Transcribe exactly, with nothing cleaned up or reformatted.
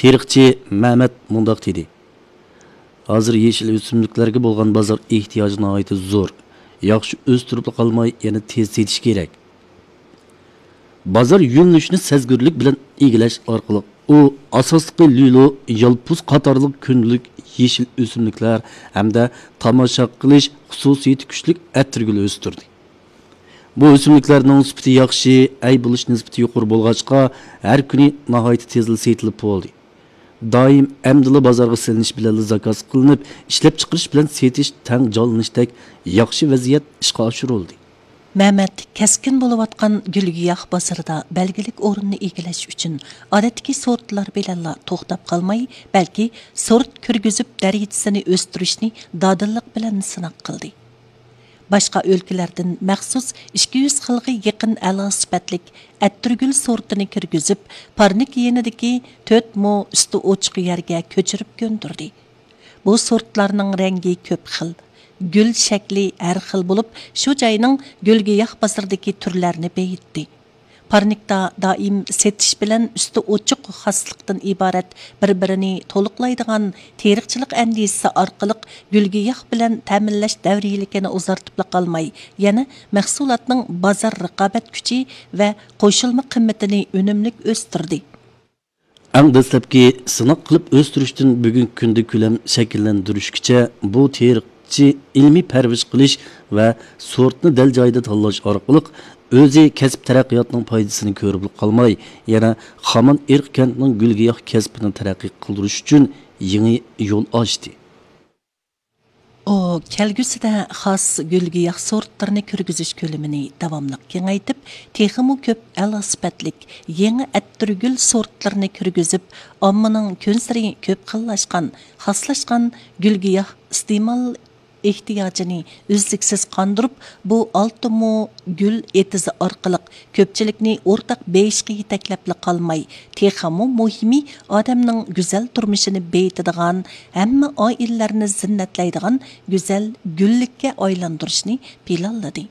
تېرىقچى مەمەت مۇنداق دېدى: ھازىر يېشىل ئۆسۈملۈكلەرگە بولغان بازار ئېھتىياجى ناھايىتى زور. ياخشى ئۆستۈرۈپلا قالماي، يەنە تېز سېتىش كېرەك. بازار يۆنىلىشىنى سەزگۈرلۈك بىلەن ئىگىلەش ئارقىلىق، ئۇ ئاساسلىقى لۈلۇ، يالپۇز قاتارلىق كۈندىلىك يېشىل ئۆسۈملۈكلەر ھەمدە تاماشا قىلىش خۇسۇسىيىتى كۈچلۈك ئەتىرگۈل ئۆستۈردى. بۇ ئۆسۈملۈكلەرنىڭ سۈپىتى ياخشى، ئەي بولۇش نىسبىتى يۇقىرى بولغاچقا، ھەر كۈنى ناھايىتى تېزلا سېتىلىپ بولدى. دائىم ئەمدىلا بازارغا سېلىنىش بىلەنلا زاكاز قىلىنىپ، ئىشلەپچىقىرىش بىلەن سېتىش تەڭ جانلىنىشتەك ياخشى ۋەزىيەت ئىشقا ئاشۇرۇلدى. مەمەت كەسكىن بولۇۋاتقان گۈل-گىياھ بازىرىدا بەلگىلىك ئورۇننى ئىگىلەش ئۈچۈن، ئادەتتىكى سورتلار بىلەنلا توختاپ قالماي، بەلكى سورت كىرگۈزۈپ دەرىجىسىنى ئۆستۈرۈشنى دادىللىق بىلەن سىناق قىلدى. باشقا ئۆلكىلەردىن مەخسۇس ئىككى يۈز خىلغا يېقىن ئەلا سۈپەتلىك ئەتىرگۈل سورتىنى كىرگۈزۈپ، پارنىك يېنىدىكى تۆت مو ئۈستى ئوچۇق يەرگە كۆچۈرۈپ كۆندۈردى. بۇ سورتلارنىڭ رەڭگى كۆپ خىل، گۈل شەكلى ھەر خىل بولۇپ، شۇ جاينىڭ گۈل-گىياھ بازىرىدىكى تۈرلەرنى بېيىتتى. پارنىكتا دائىم سېتىش بىلەن ئۈستى ئوچۇق خاسلىقتىن ئىبارەت بىر-بىرىنى تولۇقلايدىغان تېرىقچىلىق ئەندىزىسى ئارقىلىق گۈل-گىياھ بىلەن تەمىنلەش دەۋرىيلىكىنى ئۇزارتىپلا قالماي، يەنە مەھسۇلاتنىڭ بازار رىقابەت كۈچى ۋە قوشۇلما قىممىتىنى ئۈنۈملۈك ئۆستۈردى. ئەڭ دەسلەپكى سىناق قىلىپ ئۆستۈرۈشتىن بۈگۈنكى كۈندە كۆلەم شەكىللەندۈرۈشكىچە، بۇ تېرىقچى ئىلمىي پەرۋىش قىلىش ۋە سورتنى دەل جايىدا تاللاش ئارقىلىق ئۆزى كەسىپ تەرەققىياتىنىڭ پايدىسىنى كۆرۈپلا قالماي، يەنە خامان ئېرىق كەنتىنىڭ گۈل-گىياھ كەسپىنى تەرەققىي قىلدۇرۇش ئۈچۈن يېڭى يول ئاچتى. ئۇ كەلگۈسىدە خاس گۈل-گىياھ سورتلىرىنى كىرگۈزۈش كۆلىمىنى داۋاملىق كېڭەيتىپ، تېخىمۇ كۆپ ئەلا سۈپەتلىك يېڭى ئەتىرگۈل سورتلىرىنى كىرگۈزۈپ، ئاممىنىڭ كۈنسېرى كۆپ خىللاشقان، خاسلاشقان گۈل-گىياھ ئىستېمال ئېھتىياجىنى ئۈزلۈكسىز قاندۇرۇپ، بۇ ئالتە مو گۈل ئېتىزى ئارقىلىق كۆپچىلىكنى ئورتاق بېيىشقا يېتەكلەپلا قالماي، تېخىمۇ مۇھىمى، ئادەمنىڭ گۈزەل تۇرمۇشىنى بېيىتىدىغان، ھەممە ئائىلىلەرنى زىننەتلەيدىغان گۈزەل گۈللۈككە ئايلاندۇرۇشنى پىلانلىدى.